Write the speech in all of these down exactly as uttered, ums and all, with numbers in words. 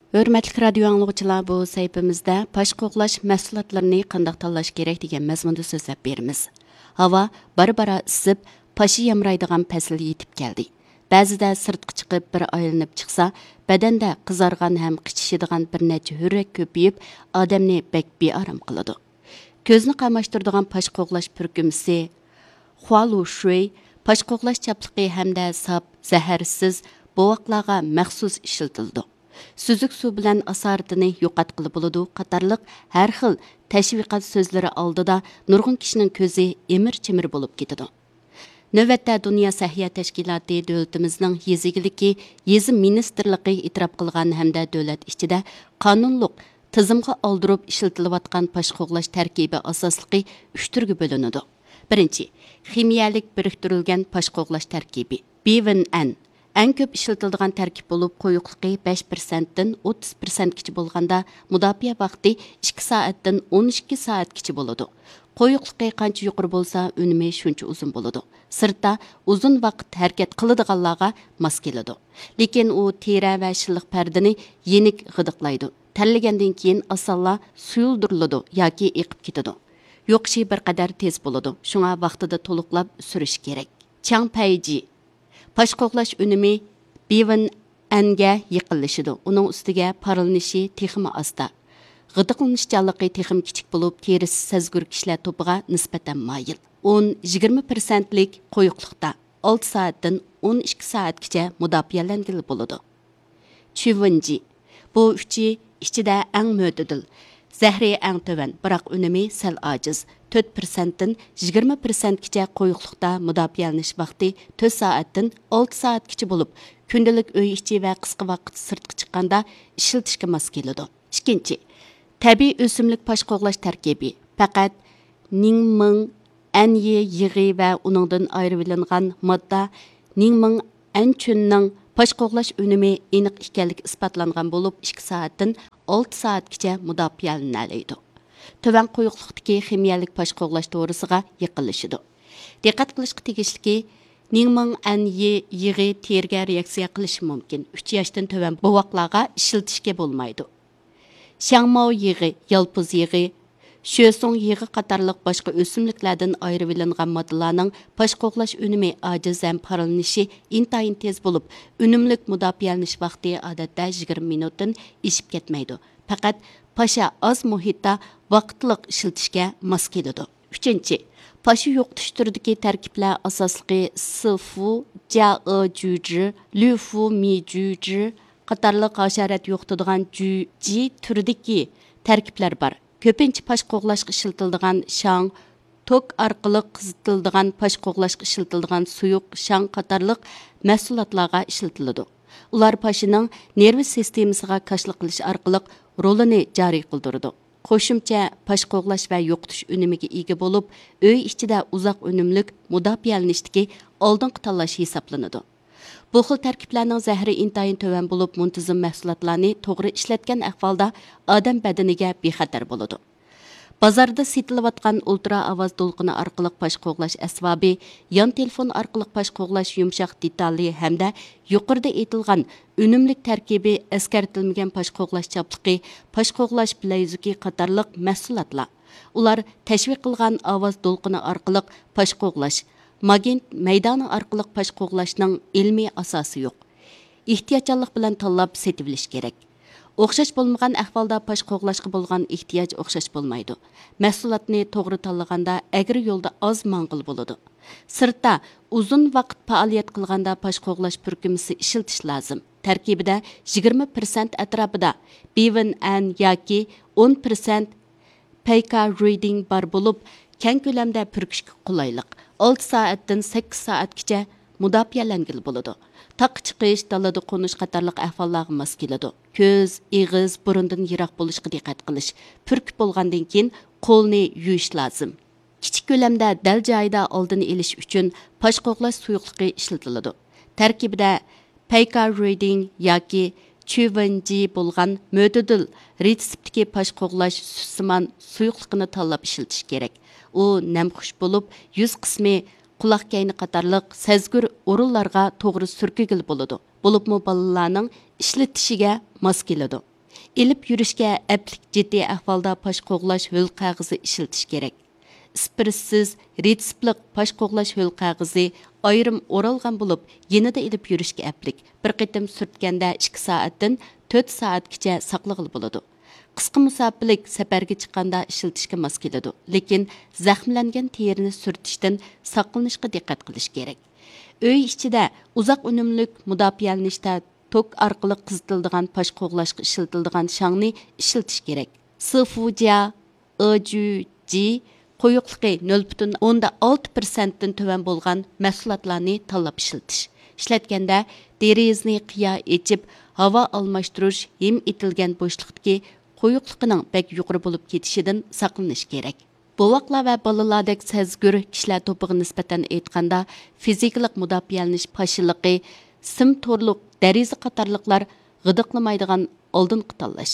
ھۆرمەتلىك رادىيو ئاڭلىغۇچىلار، بۇ سەھىپىمىزدە پاش قوغلاش مەھسۇلاتلىرىنى قانداق تاللاش كېرەك دېگەن مەزمۇندا سۆزلەپ بېرىمىز. ھاۋا بارا-بارا ئىسسىپ، پاشا يامرايدىغان پەسىل يېتىپ كەلدى. بەزىدە سىرتقا چىقىپ بىر ئايلىنىپ چىقسا، بەدەندە قىزارغان ھەم قىچىشىدىغان بىر نەچچە ھۆررەك كۆپىيىپ، ئادەمنى بەك بىئارام قىلىدۇ. كۆزنى قاماشتۇرىدىغان پاش قوغلاش پۈركۈمىسى خۇالۇشۈي پاش قوغلاش چاپلىقى ھەمدە ساپ، زەھەرسىز بوۋاقلارغا مەخسۇس ئىشلىتىلىدۇ. سۈزۈك سۇ بىلەن ئاسارىتىنى يوقاتقىلى بولىدۇ قاتارلىق ھەر خىل تەشۋىقات سۆزلىرى ئالدىدا نۇرغۇن كىشىنىڭ كۆزى ئىمىر-چىمىر بولۇپ كېتىدۇ. نۆۋەتتە دۇنيا سەھىيە تەشكىلاتى دۆلىتىمىزنىڭ يېزا ئىگىلىكى، يېزا مىنىستىرلىقى ئېتىراپ قىلغان ھەمدە دۆلەت ئىچىدە قانۇنلۇق تىزىمغا ئالدۇرۇپ ئىشلىتىلىۋاتقان پاش قوغلاش تەركىبى ئاساسلىقى ئۈچ تۈرگە بۆلۈنىدۇ. بىرىنچى، خىمىيەلىك بىرىكتۈرۈلگەن پاش قوغلاش تەركىبى، بىۋېن ئەن. ئەڭ كۆپ ئىشلىتىلىدىغان تەركىب بولۇپ، قويۇقلۇقى بەش پىرسەنتتىن ئوتتۇز پىرسەنتكىچە بولغاندا، مۇداپىئە ۋاقتى ئىككى سائەتتىن ئون ئىككى سائەتكىچە بولىدۇ. قويۇقلۇقى قانچە يۇقىرى بولسا، ئۈنۈمى شۇنچە ئۇزۇن بولىدۇ. سىرتتا ئۇزۇن ۋاقىت ھەرىكەت قىلىدىغانلارغا ماس كېلىدۇ. لېكىن ئۇ تېرە ۋە شىللىق پەردىنى يېنىك غىدىقلايدۇ. تەرلىگەندىن كېيىن ئاسانلا سۇيۇلدۇرۇلىدۇ ياكى ئېقىپ كېتىدۇ. يوقىشى بىر قەدەر تېز بولىدۇ، شۇڭا ۋاقتىدا تولۇقلاپ سۈرۈش كېرەك. چياڭ پەيجى. پاش قوغلاش ئۈنۈمى بىۋېن ئەنگە يېقىنلىشىدۇ. ئۇنىڭ ئۈستىگە پارلىنىشى تېخىمۇ ئاستا. غىدىقلىنىشچانلىقى تېخىمۇ كىچىك بولۇپ، تېرىسى سەزگۈر كىشىلەر توپىغا نىسبەتەن مايىل. ئون، يىگىرمە پىرسەنتلىك قويۇقلۇقتا ئالتە سائەتتىن ئون ئىككى سائەتكىچە مۇداپىئەلەنگىلى بولىدۇ. چۈۋېنجى. بۇ ئۈچى ئىچىدە ئەڭ مۆتىدىل. زەھىرى ئەڭ تۆۋەن، بىراق ئۈنۈمى سەل ئاجىز. تۆت پىرسەنتتىن يىگىرمە پىرسەنتكىچە قويۇقلۇقتا مۇداپىئەلىنىش ۋاقتى تۆت سائەتتىن ئالتە سائەتكىچە بولۇپ، كۈندىلىك ئۆي ئىچى ۋە قىسقا ۋاقىت سىرتقا چىققاندا ئىشلىتىشكە ماس كېلىدۇ. ئىككىنچى، تەبىئىي ئۆسۈملۈك پاش قوغلاش تەركىبى، پەقەت نىڭمىڭ ئەنيى يېغى ۋە ئۇنىڭدىن ئايرىۋېلىنغان ماددا نىڭمىڭ ئەنچۈننىڭ پاش قوغلاش ئۈنۈمى ئېنىق ئىكەنلىكى ئىسپاتلانغان بولۇپ، ئىككى سائەتتىن ئالتە سائەتكىچە مۇداپىئەلىنەلەيدۇ. تۆۋەن قويۇقلۇقتىكى خىمىيەلىك پاش قوغلاش دورىسىغا يېقىنلىشىدۇ. دىققەت قىلىشقا تېگىشلىكى، نىڭمىڭ ئەنيى يېغى تېرىگە رېئاكسىيە قىلىشى مۇمكىن. ئۈچ ياشتىن تۆۋەن بوۋاقلارغا ئىشلىتىشكە بولمايدۇ. شياڭماۋ يېغى، يالپۇز يېغى، شۆسۇڭ يېغى قاتارلىق باشقا ئۆسۈملۈكلەردىن ئايرىۋېلىنغان ماددىلارنىڭ پاش قوغلاش ئۈنۈمى ئاجىز ھەم پارلىنىشى ئىنتايىن تېز بولۇپ، ئۈنۈملۈك مۇداپىئەلىنىش ۋاقتى ئادەتتە يىگىرمە مىنۇتتىن ئېشىپ كەتمەيدۇ. پەقەت پاشا ئاز مۇھىتتا ۋاقىتلىق ئىشلىتىشكە ماس كېلىدۇ. ئۈچىنچى، پاشا يوقىتىش تۈرىدىكى تەركىبلەر ئاساسلىقى سىفۇ، جيائې جۈجى، لۈفۇ مى جۈجى قاتارلىق ھاشارات يوقىتىدىغان جۈجى تۈرىدىكى تەركىبلەر بار. كۆپىنچە پاش قوغلاشقا ئىشلىتىلىدىغان شاڭ، توك ئارقىلىق قىزىتىلىدىغان پاش قوغلاشقا ئىشلىتىلىدىغان سۇيۇق شاڭ قاتارلىق مەھسۇلاتلارغا ئىشلىتىلىدۇ. ئۇلار پاشىنىڭ نېرۋا سىستېمىسىغا كاشىلا قىلىش ئارقىلىق رولىنى جارى قىلدۇرىدۇ. قوشۇمچە پاش قوغلاش ۋە يوقىتىش ئۈنۈمىگە ئىگە بولۇپ، ئۆي ئىچىدە ئۇزاق ئۈنۈملۈك مۇداپىئەلىنىشتىكى ئالدىنقى تاللاش ھېسابلىنىدۇ. بۇ خىل تەركىبلەرنىڭ زەھىرى ئىنتايىن تۆۋەن بولۇپ، مۇنتىزىم مەھسۇلاتلارنى توغرا ئىشلەتكەن ئەھۋالدا ئادەم بەدىنىگە بىخەتەر بولىدۇ. بازاردا سېتىلىۋاتقان ئۇلترا ئاۋاز دولقۇنى ئارقىلىق پاش قوغلاش ئەسۋابى، يان تېلېفون ئارقىلىق پاش قوغلاش يۇمشاق دېتالى ھەمدە يۇقىرىدا ئېيتىلغان ئۈنۈملۈك تەركىبى ئەسكەرتىلمىگەن پاش قوغلاش چاپلىقى، پاش قوغلاش بىلەيزۈكى قاتارلىق مەھسۇلاتلار. ئۇلار تەشۋىق قىلغان ئاۋاز دولقۇنى ئارقىلىق پاش قوغلاش، ماگنىت مەيدانى ئارقىلىق پاش قوغلاشنىڭ ئىلمىي ئاساسى يوق. ئېھتىياتچانلىق بىلەن تاللاپ سېتىۋېلىش كېرەك. ئوخشاش بولمىغان ئەھۋالدا پاش قوغلاشقا بولغان ئېھتىياج ئوخشاش بولمايدۇ. مەھسۇلاتنى توغرا تاللىغاندا ئەگرى يولدا ئاز ماڭغىلى بولىدۇ. سىرتتا ئۇزۇن ۋاقىت پائالىيەت قىلغاندا پاش قوغلاش پۈركۈمىسى ئىشلىتىش لازىم. تەركىبىدە يىگىرمە پىرسەنت ئەتراپىدا بىۋېن ئەن ياكى ئون پىرسەنت پەيكا رېدىڭ بار بولۇپ، كەڭ كۆلەمدە پۈركۈشكە قولايلىق. ئالتە سائەتتىن سەككىز سائەتكىچە مۇداپىئەلەنگىلى بولىدۇ. تاغقا چىقىش، دالىدا قونۇش قاتارلىق ئەھۋاللارغا ماس كېلىدۇ. كۆز، ئېغىز، بۇرۇندىن يىراق بولۇشقا دىققەت قىلىش. پۈركۈپ بولغاندىن كېيىن قولنى يۇيۇش لازىم. كىچىك كۆلەمدە دەل جايىدا ئالدىنى ئېلىش ئۈچۈن پاش قوغلاش سۇيۇقلۇقى ئىشلىتىلىدۇ. تەركىبىدە پەيكا رېدىڭ ياكى چۈۋېنجى بولغان مۆتىدىل رېتسېپتىكى پاش قوغلاش سۈتسىمان سۇيۇقلۇقىنى تاللاپ ئىشلىتىش كېرەك. ئۇ نەمخۇش بولۇپ، يۈز قىسمى، قۇلاق كەينى قاتارلىق سەزگۈر ئورۇنلارغا توغرا سۈركىگىلى بولىدۇ. بولۇپمۇ بالىلارنىڭ ئىشلىتىشىگە ماس كېلىدۇ. ئېلىپ يۈرۈشكە ئەپلىك جىددىي ئەھۋالدا پاش قوغلاش ھۆل قەغىزى ئىشلىتىش كېرەك. ئىسپىرتسىز، رېتسېپلىق پاش قوغلاش ھۆل قەغىزى ئايرىم ئورالغان بولۇپ، يېنىدا ئېلىپ يۈرۈشكە ئەپلىك. بىر قېتىم سۈرتكەندە ئىككى سائەتتىن تۆت سائەتكىچە ساقلىغىلى بولىدۇ. قىسقا مۇساپىلىك سەپەرگە چىققاندا ئىشلىتىشكە ماس كېلىدۇ، لېكىن زەخىملەنگەن تېرىنى سۈرتۈشتىن ساقلىنىشقا دىققەت قىلىش كېرەك. ئۆي ئىچىدە ئۇزاق ئۈنۈملۈك مۇداپىئەلىنىشتە توك ئارقىلىق قىزىتىلىدىغان پاش قوغلاشقا ئىشلىتىلىدىغان شاڭنى ئىشلىتىش كېرەك. سىفۇجيا، ئېجۈجى قويۇقلۇقى نۆل پۈتۈن ئوندىن ئالتە پىرسەنتتىن تۆۋەن بولغان مەھسۇلاتلارنى تاللاپ ئىشلىتىش. ئىشلەتكەندە دېرىزىنى قىيا ئېچىپ، ھاۋا ئالماشتۇرۇش ھىم ئېتىلگەن بوشلۇقتىكى قويۇقلۇقىنىڭ بەك يۇقىرى بولۇپ كېتىشىدىن ساقلىنىش كېرەك. بوۋاقلار ۋە بالىلاردەك سەزگۈر كىشىلەر توپىغا نىسبەتەن ئېيتقاندا، فىزىكىلىق مۇداپىئەلىنىش پاشىلىقى، سىم تورلۇق دېرىزە قاتارلىقلار غىدىقلىمايدىغان ئالدىنقى تاللاش.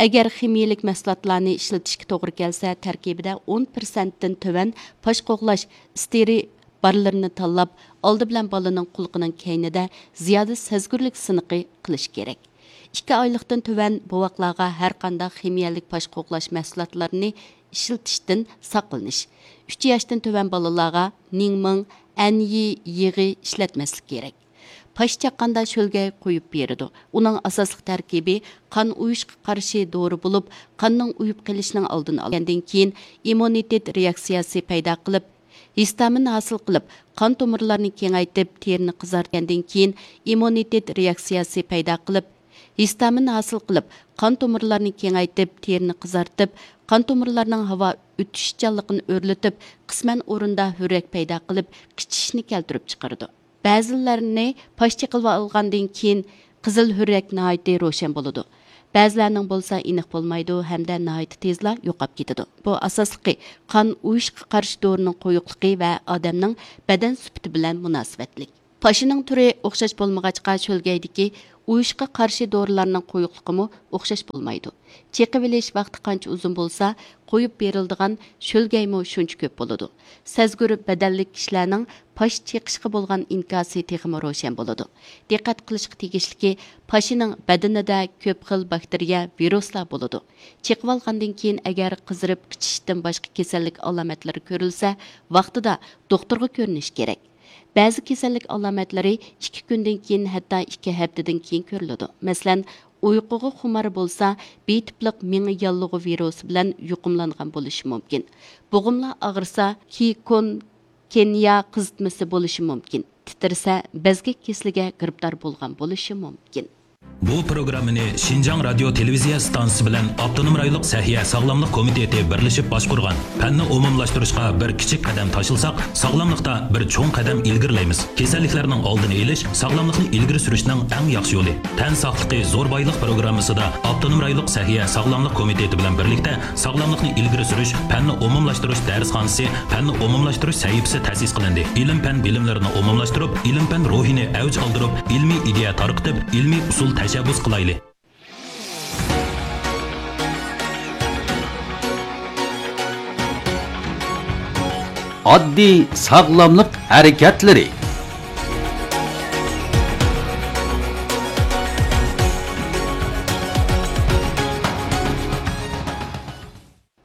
ئەگەر خىمىيىلىك مەھسۇلاتلارنى ئىشلىتىشكە توغرا كەلسە، تەركىبىدە ئون پىرسەنتتىن تۆۋەن پاش قوغلاش ئىستېرىل بارلىرىنى تاللاپ، ئالدى بىلەن بالىنىڭ قۇلىقىنىڭ كەينىدە زىيادە سەزگۈرلۈك سىنىقى قىلىش كېرەك. ئىككى ئايلىقتىن تۆۋەن بوۋاقلارغا ھەرقانداق خىمىيەلىك پاش قوغلاش مەھسۇلاتلىرىنى ئىشلىتىشتىن ساقلىنىش. ئۈچ ياشتىن تۆۋەن بالىلارغا نىڭمىڭ، ئەنيى يېغى ئىشلەتمەسلىك كېرەك. پاش چاققاندا شۆلگەي قويۇپ بېرىدۇ. ئۇنىڭ ئاساسلىق تەركىبى قان ئۇيۇشقا قارشى دورا بولۇپ، قاننىڭ ئۇيۇپ قېلىشىنىڭ ئالدىنى ئالىدۇ. كېيىن ئىممۇنىتېت رېئاكسىيەسى پەيدا قىلىپ، ھىستامىن ھاسىل قىلىپ، قان تومۇرلارنى كېڭەيتىپ، تېرىنى قىزارتقاندىن كېيىن ئىممۇنىتېت رېئاكسىيەسى پەيدا قىلىپ، ھىستامىن ھاسىل قىلىپ، قان تومۇرلارنى كېڭەيتىپ، تېرىنى قىزارتىپ، قان تومۇرلارنىڭ ھاۋا ئۆتۈشچانلىقىنى ئۆرلىتىپ، قىسمەن ئورۇندا ھۆررەك پەيدا قىلىپ، قىچىشىشنى كەلتۈرۈپ چىقىرىدۇ. بەزىلەرنى پاش چېقىلىۋالغاندىن كېيىن قىزىل ھۆررەك ناھايىتى روشەن بولىدۇ. بەزىلەرنىڭ بولسا ئېنىق بولمايدۇ ھەمدە ناھايىتى تېزلا يوقاپ كېتىدۇ. بۇ ئاساسلىقى قان ئۇيۇشقا قارشى دورىنىڭ قويۇقلۇقى ۋە ئادەمنىڭ بەدەن سۈپىتى بىلەن مۇناسىۋەتلىك. پاشىنىڭ تۈرى ئوخشاش بولمىغاچقا، شۆلگەيدىكى ئۇيۇشقا قارشى دورىلارنىڭ قويۇقلۇقىمۇ ئوخشاش بولمايدۇ. چېقىۋېلىش ۋاقتى قانچە ئۇزۇن بولسا، قويۇپ بېرىلىدىغان شۆلگەيمۇ شۇنچە كۆپ بولىدۇ. سەزگۈر بەدەنلىك كىشىلەرنىڭ پاش چېقىشقا بولغان ئىنكاسى تېخىمۇ روشەن بولىدۇ. دىققەت قىلىشقا تېگىشلىكى، پاشىنىڭ بەدىنىدە كۆپ خىل باكتېرىيە، ۋىرۇسلار بولىدۇ. چېقىۋالغاندىن كېيىن، ئەگەر قىزىرىپ قىچىشىشتىن باشقا كېسەللىك ئالامەتلىرى كۆرۈلسە، ۋاقتىدا دوختۇرغا كۆرۈنۈش كېرەك. بەزى كېسەللىك ئالامەتلىرى ئىككى كۈندىن كېيىن، ھەتتا ئىككى ھەپتىدىن كېيىن كۆرۈلىدۇ. مەسىلەن، ئۇيقۇغا خۇمار بولسا، بى تىپلىق مېڭە ياللۇغى ۋىرۇسى بىلەن يۇقۇملانغان بولۇشى مۇمكىن. بوغۇملار ئاغرىسا، كىكون كېنيا قىزىتمىسى بولۇشى مۇمكىن. تىترىسە، بەزگەك كېسىلىگە گىرىپتار بولغان بولۇشى مۇمكىن. بۇ پروگراممىنى شىنجاڭ رادىيو تېلېۋىزىيە ئىستانسىسى بىلەن ئاپتونوم رايونلۇق سەھىيە ساغلاملىق كومىتېتى بىرلىشىپ باشقۇرغان. پەننى ئومۇملاشتۇرۇشقا بىر كىچىك قەدەم تاشلىساق، ساغلاملىقتا بىر چوڭ قەدەم ئىلگىرىلەيمىز. كېسەللىكلەرنىڭ ئالدىنى ئېلىش ساغلاملىقنى ئىلگىرى سۈرۈشنىڭ ئەڭ ياخشى يولى. تەن ساقلىقى زور بايلىق پروگراممىسىدا ئاپتونوم رايونلۇق سەھىيە ساغلاملىق كومىتېتى بىلەن بىرلىكتە ساغلاملىقنى ئىلگىرى سۈرۈش، پەننى ئومۇملاشتۇرۇش دەرسخانىسى، پەننى ئومۇملاشتۇرۇش سەھىپىسى تەسىس قىلىندى. ئىلىم-پەن بىلىملىرىنى ئومۇملاشتۇرۇپ، ئىلىم-پەن روھىنى ئەۋج ئالدۇرۇپ، ئىلمىي ئىدىيە تارقىتىپ، ئىلمىي ئۇسۇل تەشەببۇس قىلايلى. ئاددىي ساغلاملىق ھەرىكەتلىرى.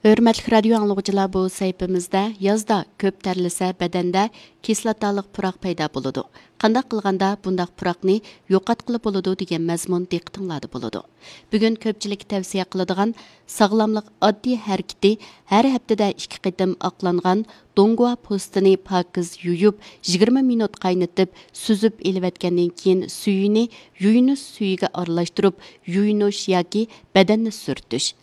ھۆرمەتلىك رادىيو ئاڭلىغۇچىلار، بۇ سەھىپىمىزدە يازدا كۆپ تەرلىسە بەدەندە كىسلاتالىق پۇراق پەيدا بولىدۇ. قانداق قىلغاندا بۇنداق پۇراقنى يوقاتقىلى بولىدۇ دېگەن مەزمۇن دىققىتىڭلاردا بولىدۇ. بۈگۈن كۆپچىلىككە تەۋسىيە قىلىدىغان ساغلاملىق ئاددىي ھەرىكىتى ھەر ھەپتىدە ئىككى قېتىم ئاقلانغان دونگۇا پوستىنى پاكىز يۇيۇپ، يىگىرمە مىنۇت قاينىتىپ، سۈزۈپ ئېلىۋەتكەندىن كېيىن سۈيىنى يۇيۇنۇش سۈيىگە ئارىلاشتۇرۇپ يۇيۇنۇش ياكى بەدەننى سۈرتۈش.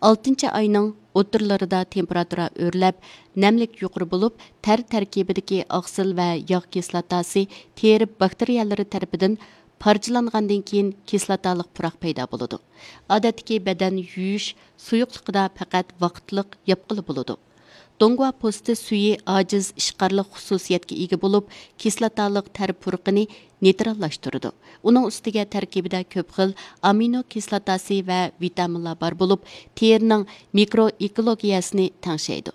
ئالتىنچى ئاينىڭ ئوتتۇرىلىرىدا تېمپېراتۇرا ئۆرلەپ، نەملىك يۇقىرى بولۇپ، تەر تەركىبىدىكى ئاقسىل ۋە ياغ كىسلاتاسى تېرە باكتېرىيەلىرى تەرىپىدىن پارچىلانغاندىن كېيىن كىسلاتالىق پۇراق پەيدا بولىدۇ. ئادەتتىكى بەدەن يۇيۇش سۇيۇقلۇقىدا پەقەت ۋاقىتلىق ياپقىلى بولىدۇ. دونگۇا پوستى سۈيى ئاجىز ئىشقارلىق خۇسۇسىيەتكە ئىگە بولۇپ، كىسلاتالىق تەر پۇرىقىنى نېيتراللاشتۇرىدۇ. ئۇنىڭ ئۈستىگە تەركىبىدە كۆپ خىل ئامىنو كىسلاتاسى ۋە ۋىتامىنلار بار بولۇپ، تېرىنىڭ مىكرو ئېكولوگىيەسىنى تەڭشەيدۇ.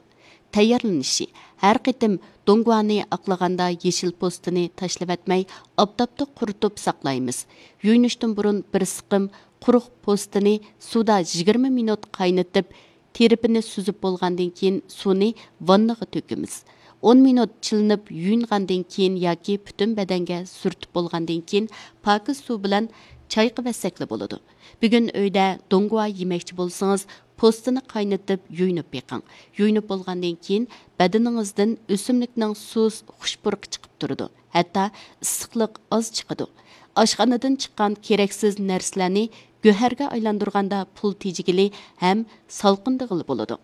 تەييارلىنىشى: ھەر قېتىم دونگۇانى ئاقلىغاندا يېشىل پوستىنى تاشلىۋەتمەي، ئاپتاپتا قۇرۇتۇپ ساقلايمىز. يۇيۇنۇشتىن بۇرۇن بىر سىقىم قۇرۇق پوستىنى سۇدا يىگىرمە مىنۇت قاينىتىپ، تىرىپىنى سۈزۈپ بولغاندىن كېيىن سۇنى ۋاننىغا تۆكىمىز. ئون مىنۇت چىلىنىپ يۇيۇنغاندىن كېيىن ياكى پۈتۈن بەدەنگە سۈرتۈپ بولغاندىن كېيىن پاكىز سۇ بىلەن چايقىۋەتسەكلا بولىدۇ. بۈگۈن ئۆيدە دوڭگۇا يېمەكچى بولسىڭىز، پوستىنى قاينىتىپ يۇيۇنۇپ بېقىڭ. يۇيۇنۇپ بولغاندىن كېيىن بەدىنىڭىزدىن ئۆسۈملۈكنىڭ سۇس خۇش پۇرىقى چىقىپ تۇرىدۇ. ھەتتا ئىسسىقلىق ئاز چىقىدۇ. ئاشخانىدىن چىققان كېرەكسىز نەرسىلەرنى گۆھەرگە ئايلاندۇرغاندا پۇل تېجىگىلى ھەم سالقىندىغىلى بولىدۇ.